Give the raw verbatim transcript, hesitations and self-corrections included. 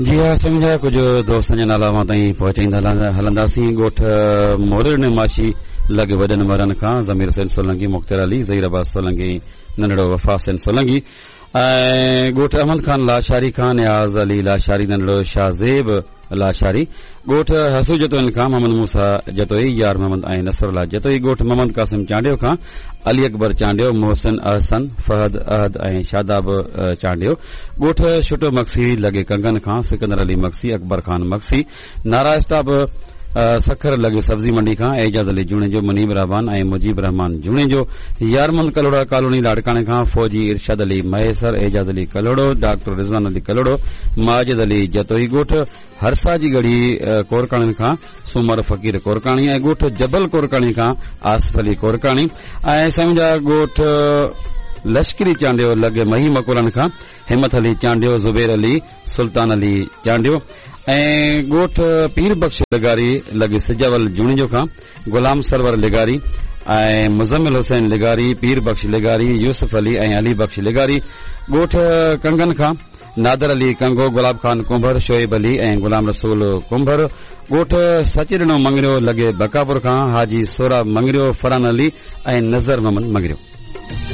جي ها سمجها، ڪجهه دوستن جا نالا اوهان تائين پهچائيندا هلنداسين. ڳوٺ مورڙ ماڇي لڳ وڏن مرن کان ضمير حسين سولنگي، مختيار علي، ظهير عباس سولنگي، ننڍڙو وفا حسين سولنگي ۽ ڳوٺ احمد خان لاشاري کان نياز علي لاشاري، ننڍڙو شاهزيب لاشاري. ڳوٺ حسو جتوئين کان محمد موسيٰ جتوئي، يار محمد ۽ نصر الله جتوئي. ڳوٺ محمد قاسم چانڊيو کان علي اڪبر چانڊيو، محسن، احسن، فهد، احد ۽ شاداب چانڊيو. ڳوٺ ڇٽو مگسي لڳي ڪنگن کان سڪندر علي مگسي، اڪبر خان مگسي. نارا اسٽاپ سکر لڳي سبزي منڊي کان اعجاز علي جوڻيجو، منيب رحمان ۽ مجيب رحمان جوڻيجو. يارمند ڪلهوڙا ڪالوني لاڙڪاڻي کان فوجي ارشاد علي مهيسر، اعجاز علي ڪلهوڙو، ڊاڪٽر رضوان علي ڪلهوڙو، ماجد علي جتوئي. ڳوٺ هرسا جي ڳڙهي ڪورڪاڻين کان سومر فقير ڪورڪاڻي ۽ ڳوٺ جبل ڪورڪاڻي کان آصف علي ڪورڪاڻي ۽ سمجها ڳوٺ لشڪري چانڊيو لڳ مهي مڪولن کان همت علي چانڊيو، زبير علي، سلطان علي چانڊيو ۽ ڳوٺ پير بخش لغاري لڳ سجاول جوڻيجو کان غلام سرور لغاري ۽ مزمل حسين لغاري، پير بخش لغاري، يوسف علي ۽ علي بخش لغاري. ڳوٺ ڪنگن کان نادر علي ڪنگو، گلاب خان ڪنڀر، شعيب علي ۽ غلام رسول ڪنڀر. ڳوٺ سچڏنو مڱريو لڳي بڪاپور کان حاجي سوراب مڱريو، فرحان علي ۽ نظر محمد مڱريو.